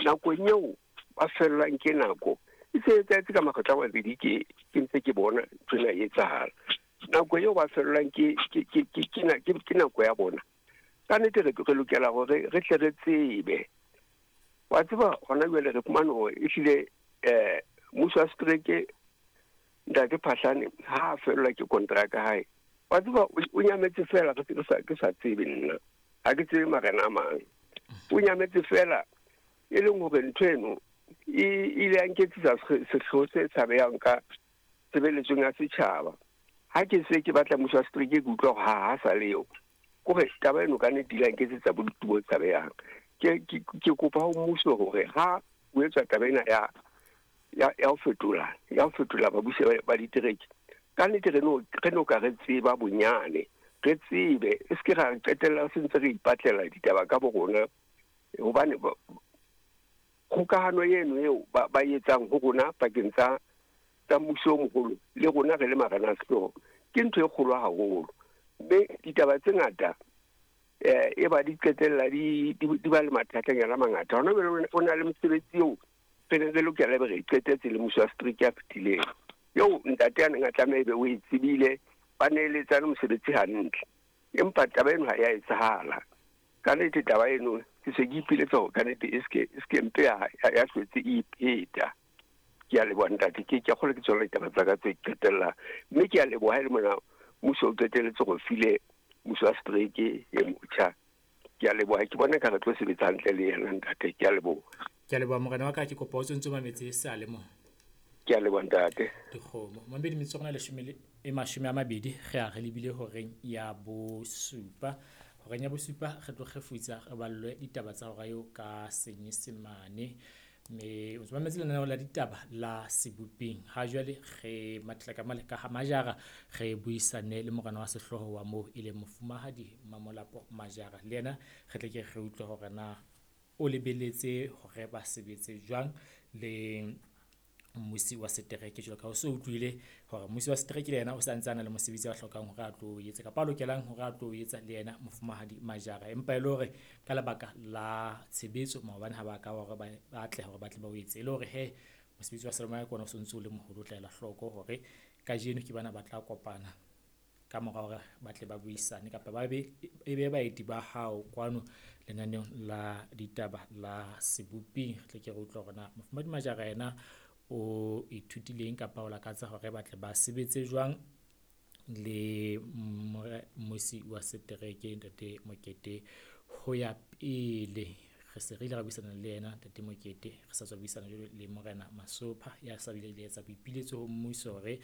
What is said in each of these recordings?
Nakong eo ba fellwang ke nako, e se etsahetse ka makgetlo a mabedi ke ke ntse ke bona ntho ena e etsahala. Nako eo ba fellwang ke ke ke ke ke ke nako ya bona. Ka nnete re re lokela hore re tle re tsebe. Wa tseba hona jwale re fumane hore ehlile mmuso wa setereke Ntate Phahlane ha a fellwa ke kontraka hae, wa tseba o nyametse fela re sa ke sa tsebe nna. Ha ke tsebe marena a mang. O nyametse fela e leng hore ntho eno e ile ya nketsetsa sehloho se tshabehang ka tshebeletsong ya setjhaba. Ha ke se ke batla mmuso wa setereke ke utlwa hore ha ha sa le eo. Kore taba eno ka nnete ile ya nketsetsa bodutu bo tshabehang. Ke ke ke kopa ho mmuso hore ha o etswa taba ena ya ya ya ho fetola ya ho fetola babusi ba ditereke, ka nnete re no re no ka re tseba bonyane, re tsebe e se ke ra qetella se ntse re ipatlela ditaba ka bo rona, hobane kgokahano eno eo ba ba etsang ho rona pakeng tsa tsa mmuso o moholo le rona re le marena a sehlooho ke ntho e kgolo haholo. Mme ditaba tse ngata e ba di qetella di di ba le mathatanyana a mangata. Hona jwale o na le mosebetsi eo re ne re lokela ebe re e qetetse le mmuso wa setereke ya fetileng, eo ntate a neng a tlameha ebe o e tsebile, ba neeletsane mosebetsi hantle. Empa taba eno ha ya etsahala. Ka nnete taba eno ke se ke ipiletsa hore ka nnete e seke e seke mpe ya ya hlotse e ipheta. Ke a leboha ntate, ke ke kgolwa ke tsona ditaba tsa ka tse qetella. Mme ke a leboha ha e le mona mmuso o qetelletse go file mmuso wa setereke e motjha. Ke a leboha, ke bona ka re tlo sebetsa hantle le yena ntate, ke a leboha. Ke a leboha morena wa ka, ke kopa o tsontso mametse sale mo. Ke a leboha ntate. Dikgomo. Mamedi metsotso rona leshome le e mashome a mabedi re a re lebile horeng ya bosupa. Horeng ya bosupa re tlo kgefutsa re ballwe ditaba tsa hora eo ka Senyesemane. Mme o mametse lenaneo la ditaba la Seboping. Ha jwale re mathela ka male ka ha Majara re buisane le morena wa sehlooho wa moo e leng mofumahadi Mamolapo Majara. Le yena re tle ke re utlwe hore na o lebeletse hore ba sebetse jwang le mmusi wa setereke jwalo ka o so utlwile hore mmusi wa setereke le yena o sa ntse a na le mosebetsi a hlokang hore a tlo etsa kapa a lokelang hore a tlo etsa le yena mofumahadi Majara. Empa e le hore ka lebaka la tshebetso maobane ha ba ka hore ba atleha hore ba tle ba o etse, e le hore he mosebetsi wa selemoya ke ona o sontso o le moholo, o tla ela hloko hore kajeno ke bana ba tla kopana ka mora hore ba tle ba buisane kapa ba be e be baeti ba hao kwano lenaneong la ditaba la Seboping. Re tle ke re utlwe hore na mofumahadi Majara yena o ithutileng kapa o lakatsa hore ba tle ba sebetse jwang le mmusi wa setereke ntate Mokete ho ya pele. Re se re ile ra buisana le yena ntate Mokete, re sa tswa buisana jwale le morena Masopha ya sa bile le etsa boipiletso ho mmuso hore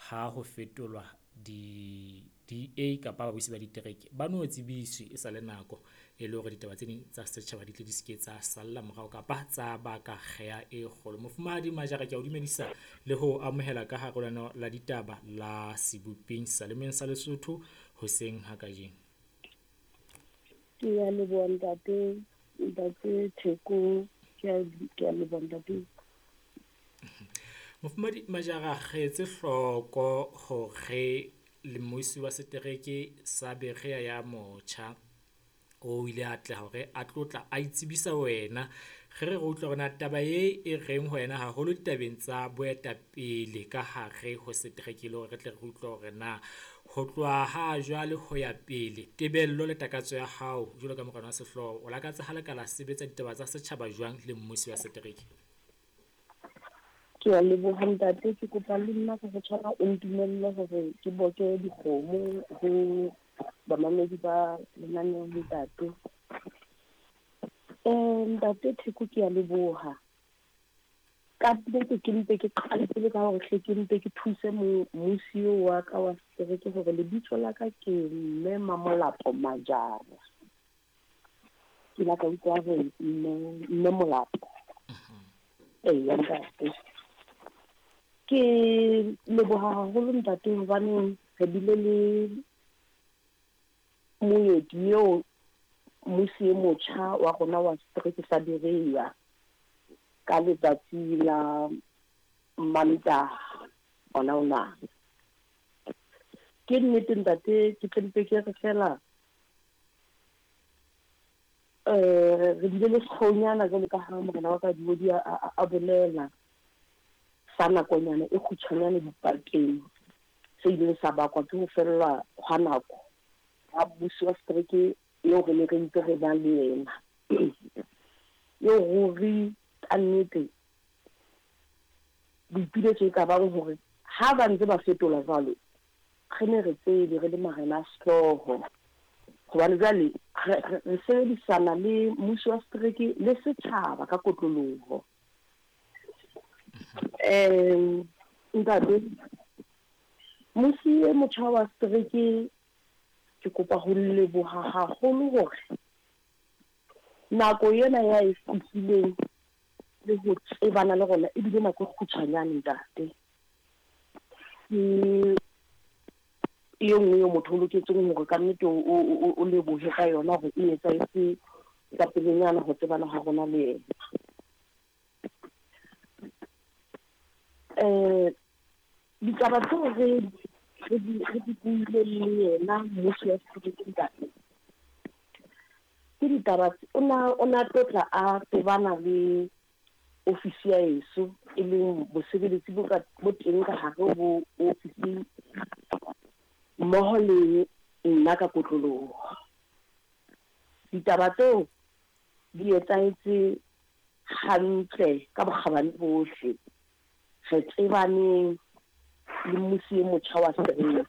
ha ho fetolwa di DA kapa babusi ba ditereke ba no tsebiswe e sa le nako e le hore ditaba tse ding tsa setjhaba di tle di seke tsa salla morao kapa tsa baka kgea e kgolo. Mofumahadi Majara, ke a o dumedisa le ho amohela ka hare ho lenaneo la ditaba la Seboping Salemeng sa Lesotho hoseng ha kajeno. Ke a leboha ntate, ntate Theko, ke a leboha ntate. Mofumahadi Majara, re etse hloko hore le mmusi wa setereke sa Berea ya motjha o ile a atleha hore a tlotla a itsebisa wena. Re re re utlwe hore na taba e e reng ho wena haholo ditabeng tsa boetapele ka hare ho setereke le hore re tle re utlwe hore na ho tloha ha jwale ho ya pele tebello le takatso ya hao jwalo ka morena wa sehlooho o lakatsa ha le ka la sebetsa ditaba tsa setjhaba jwang le mmusi wa setereke? Ke a leboha ntate, ke kopa le nna ka ho tshwana o ntumelle hore ke boke dikgomo ho bamamedi ba lenaneo ntate. Ntate Theko ke a leboha. Ka nnete ke mpe ke qale pele ka hore hle ke mpe ke thuse mmusi eo wa ka wa setereke hore lebitso la ka ke Mme Mamolapo Majara. Ke la ka utlwa hore Mme Molapo. Eya ntate. Ke leboha haholo ntate hobane re bile le moeti eo mmusi e motjha wa rona wa setereke sa Berea ka letsatsi la Mantaha ona ona. Ke nnete ntate, ke tle mpe ke re fela Re bile le sekgonyana jwalo ka ha morena wa ka Diodi a bolela sa nakonyana e kgutshwanyane dipakeng se ileng sa bakwa ke ho fellwa hwa nako ha mmusi wa setereke eo re ne re ntse re ba le yena, eo ruri ka nnete boipiletso e ka bang hore ha ba ntse ba fetola jwalo re ne re tsebe re le marena a sehlooho, hobane jwale re sebedisana le mmuso wa setereke le setjhaba ka kotloloho. Ntate, mmusi e motjha wa setereke, ke kopa ho leboha haholo hore nako ena ya e fihlileng le ho tsebana le rona ebile nako e kgutshwanyane ntate. Ke e nngwe eo motho o loketseng hore ka nnete o lebohe ka yona hore e etsahetse ka pelenyana ho tsebana ha rona le yena. Ditaba tseo re di buileng le yena mmuso wa setereke ntate, ke ditaba o na tlotla a tobana le ofisi ya heso, e leng bosebeletsi bo teng ka hare ho ofisi mmoho le nna ka kotloloho. Ditaba tseo di etsahetse hantle ka bokgabane bohle. Re tsebaneng le mmusi e motjha wa setereke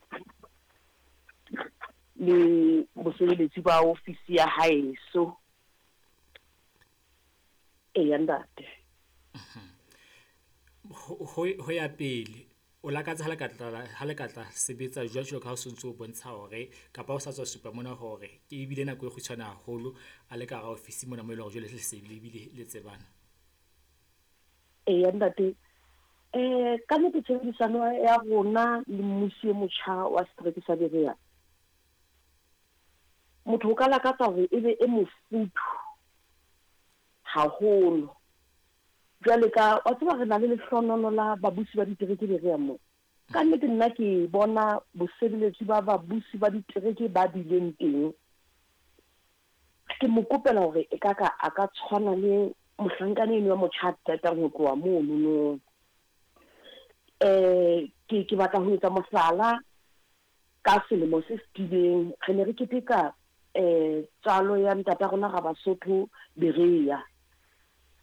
le bosebeletsi ba ofisi ya haeso. Eya ntate. Ho ya pele o lakatsa ha le ka tla sebetsa jwalo ka ha o sontso o bontsha hore kapa o sa tswa supa mona hore ke ebile nako e kgutshwane haholo a le ka hara ofisi mona mo e leng hore jwale le se le ebile le tsebana. Eya ntate. Ka nnete tshebedisano ya rona le mmusi e motjha wa setereke sa Berea, motho o ka lakatsa hore e be e mofuthu haholo. Jwale ka wa tseba re na le lehlohonolo la babusi ba ditereke Berea mo. Ka nnete nna ke bona bosebeletsi ba babusi ba ditereke ba bileng teng. Ke mo kopela hore e ka ka a ka tshwana le mohlankana eno wa motjha a qetang ho tloha monono. Ke batla ho etsa mohlala ka selemo se fetileng re ne re keteka tswalo ya ntata rona Rabasotho Berea,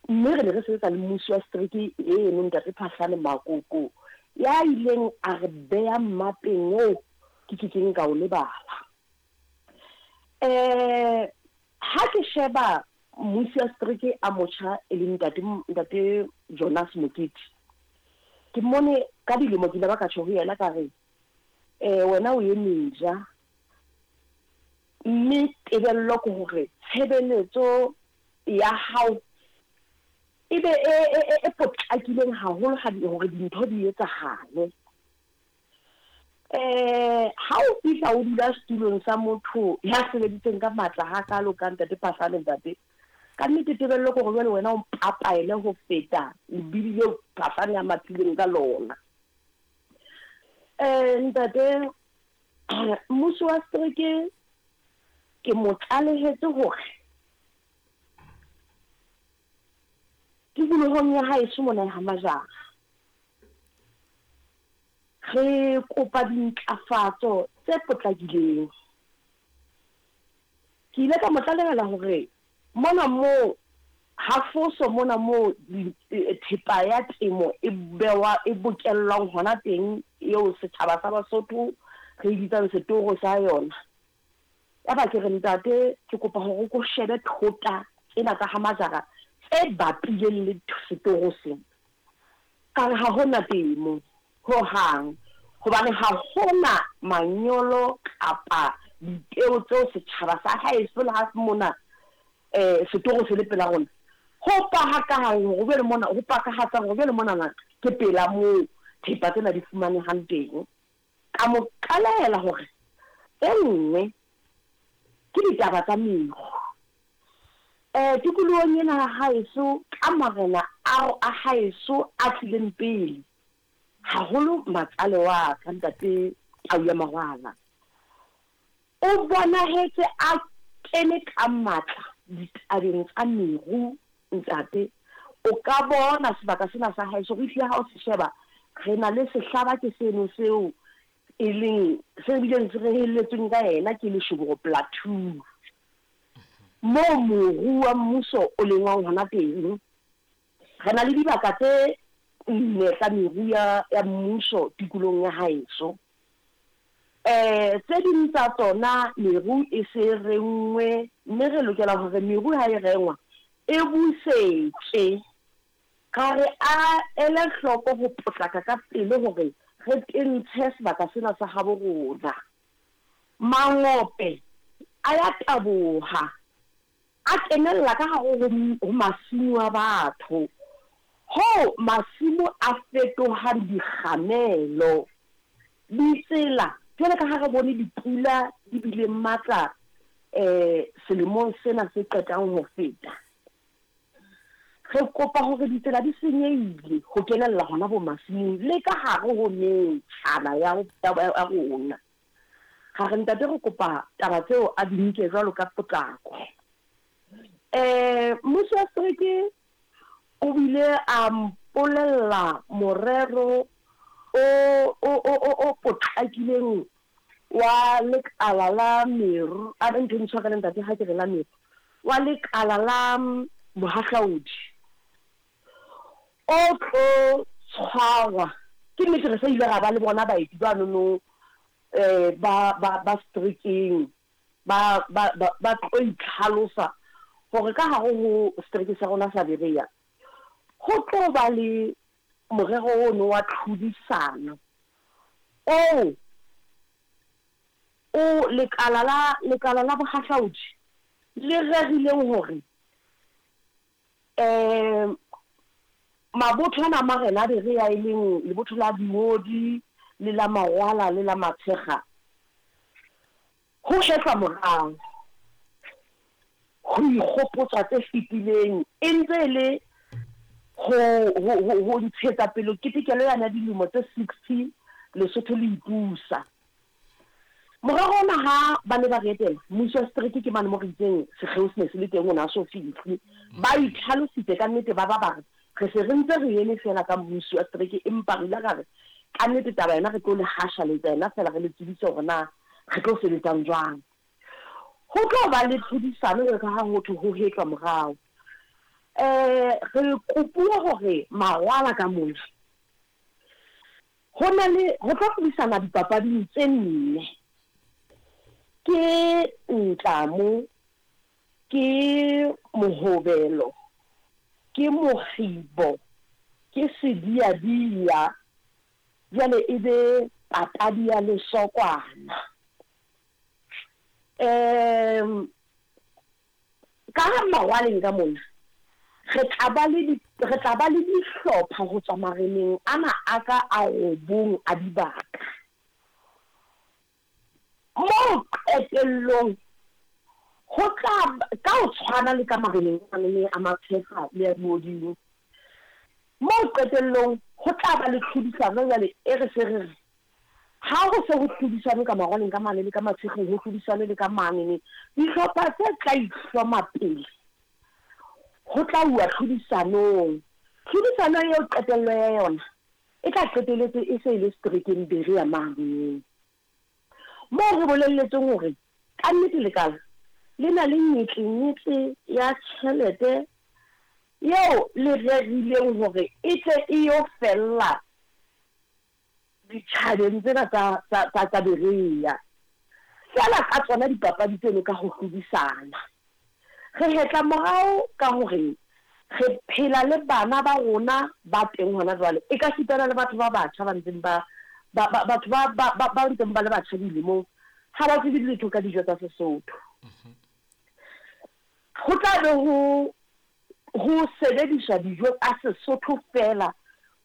mme re ne re sebetsa le mmusi wa setereke eno ntate Phahlane Makoko, ya ileng a re beha mmapeng oo ke kekeng ka o lebala. Ha ke sheba mmusi wa setereke a motjha e leng ntate Jonas Mokete, ke mmone ka dilemo ke ile ba ka tjho ho yena ka re wena o eme ja, mme tebello ke hore tshebeletso ya hao e be e potlakileng haholo hore dintho di etsahale. Ha o fihla o dula setulong sa motho ya sebeditseng ka matla hakalo ka ntate Phahlane ntate, ka nnete tebello ke hore jwale wena o mpapaele ho feta lebidi leo Phahlane a mathileng ka lona. Ntate, mmuso wa setereke ke mo tlalehetse hore tikolohong ya haeso mona ha Majara re kopa dintlafatso tse potlakileng. Ke ile ka mo tlalehela hore mona moo ha foso mona moo thepa ya temo e bewa e bokellwang hona teng eo setjhaba sa Basotho re e bitsang setoro sa yona. Ya ba ke re ntate ke kopa hore o ko shebe thota tsena tsa ha Majara tse bapileng le setoro sena. Ka re ha hona temo hohang, hobane ha hona manyolo kapa dipeo tseo setjhaba sa haeso le ha mona setoro se le pela rona. Ho pahakang hore jwale mona, ho pakahatsang hore jwale monana ke pela moo thepa tsena di fumanehang teng. Ka mo tlalehela hore e nngwe ke ditaba tsa meru. Tikolohong ena ya haeso ka marena a haeso a tlileng pele, haholo matsale wa ka ntate Tau ya Mawala, o bonahetse a kene ka matla ditabeng tsa meru, ntate, o ka bona sebaka sena sa haeso re ehlile ha o se sheba re na le sehlaba ke seno seo e leng se bileng se rehelletsweng ka yena ke Leshoboro Plateau moo moru wa mmuso o lengwang hona teng. Re na le dibaka tse nne tsa meru ya, ya mmuso tikolohong ya haeso. Tse ding tsa tsona meru e se renngwe, mme re lokela hore meru ha e rengwa e busetswe. Ra re a ele hloko ho potlaka ka pele hore re tentshe sebaka sena sa habo rona. Mangope a ya taboha. A kenella ka hare ho masimo a batho, hoo masimo a fetohang dikgamelo. Ditsela, jwalo ka ha re bone dipula di bile matla selemong sena se qetang ho feta, re kopa hore ditsela di senyehile ho kenella hona bo masimong le ka hare ho metjhana ya rona. Ra re ntate re kopa taba tseo a di nke jwalo ka potlako. Mmusi wa setereke o bile a mpolella morero o, o, o, o, o potlakileng wa lekala la meru, a re ntho ntshwarele ntate ha ke re la meru, wa lekala la bohahlaudi o tlo tshwarwa. Ke nnete re sa ile ra ba le bona baeti banono ba, ba, ba seterekeng ba, ba, ba, ba tlo itlhalosa hore ka hare ho setereke sa rona sa Berea ho tlo ba le morero ono wa tlhodisano oo o lekala la, lekala la bohahlaudi le rerileng hore Mabotho ana a marena a Berea e leng lebotho la Diodi le la Magwala le la Matshekga, ho hetlwa morao ho ikgopotswa tse fetileng e ntse e le ho, ho, ho, ho ntshetsa pele ketekelo yane ya dilemo tse 60 Lesotho le ipusa. Morero ona ha ba ne ba re etela, mmusi wa setereke ke mane mo re itseng sekgeo se ne se le teng o ne a so fihle. Ba itlhalositse ka nnete ba ba ba re, re se re ntse re eme feela ka mmusi wa setereke empa re ile ra re ka nnete taba yona re tlo le hashaletsa yona feela re le tsebise hore na re tlo sebetsang jwang. Ho tlo ba le tlhodisano jwalo ka ha ho thwe ho hetlwa morao. Re kopuwa hore mawala ka mona Ho na le, ho tlo hlodisana dipapading tse nne. Ke ntlamo, ke mohobelo, ke mokgibo, ke sediadia, jwale e be papadi ya lesokwana. Um. Ka mangwaleng ka mona, re tla ba le di, re tla ba le dihlopha ho tswa mareneng ana a ka a robong a dibaka. Moo qetellong ho tla, ka ho tshwana le ka mareneng anene a Matshefa le a Diodimo, moo qetellong ho tla ba le tlhodisano jwale e re se re re Ha ho se ho hlodisanwe ka marwaleng ka mane le ka matshekgeng, ho hlodisanwe le ka mane, dihlopha tse tla ihloma pele ho tla uwa tlhodisanong. Tlhodisano eo qetello ya yona e tla qeteletse e se e le seterekeng Berea mane. Moo re bolelletsweng hore kannete lekala le na le nyetlenyetlle ya tjhelete eo le rerileng hore e tle e yo fella ditjhabeng tsena tsa, tsa, tsa, tsa Berea. Feela ka tsona dipapadi tseno ka ho hlodisana. Re hetla morao ka hore re phela le bana ba rona ba teng hona jwale, ekasitana le batho ba batjha ba ntseng ba, ba, ba, batho ba, ba, ba, ba ntseng ba le batjha dilemong, ha ba tsebe letho ka dijo tsa Sesotho. Ho tla be ho ho sebediswa dijo tsa Sesotho feela,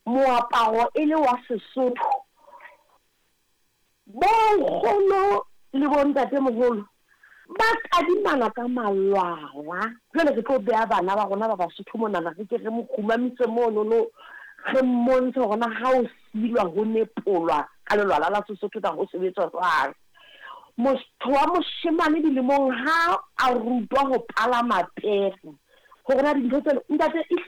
moaparo e le wa Sesotho. Bonkgono le bontatemoholo ba tadimana ka malwala. Jwale re tlo beha bana ba rona ba Basotho monana, re ke re mo kgumamise monono, re mmontshe hore na ha ho silwa ho nepolwa ka lelwala la Sesotho na ho sebetswa jwang. Motho wa moshemane dilemong ha a rutwa ho palama pere, hore na dintho tseno, ntate, e.